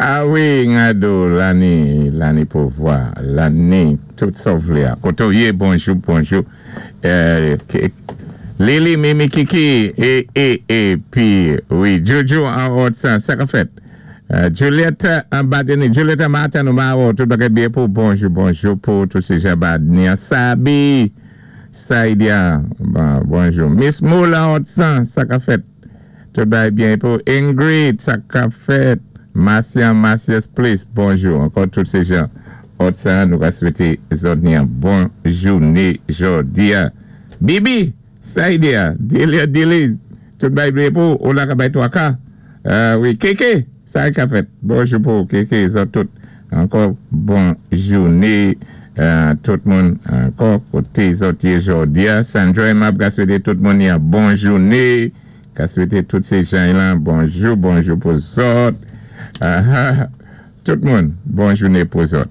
A wi, Ngado, lani, lani pouvwa, lani tout sa-w vlé a. Koté-w yé, bonjou, bonjou. Lili, Mimi, Kiki, é, é, é, pi, wi, Jojo an Òtsan, sa ka fèt? Juliette an Badeni, Juliette an Matan, nou ma wè-w, tout bagay byen pou, bonjou, bonjou pou tout sé jan Badeni an. Sabi, Saidia, bonjou. Miss Moula an Òtsan, sa ka fèt? Tout bagay byen pou. Ingrid, sa ka fèt? Marcia, Marcia's Place, bonjou. Ankò tout sé jan Òtsan, nou ka swété zòt ni an bon jouné jòdi a. Bibi, Saidia, Delia Deliz, tout bagay byen pou, ou la ka bay 3 ka. Wi, Keke, sa ka fèt? Bonjou pou Keke, zòt tout. Ankò bon jouné tout moun ankò koté zòt yé jòdi a. Sandra Aimable ka swété tout moun ni an bon jouné. Ka swété tout sé jan lan bonjou bonjou pou zòt. Tout moun bon jouné pou zòt.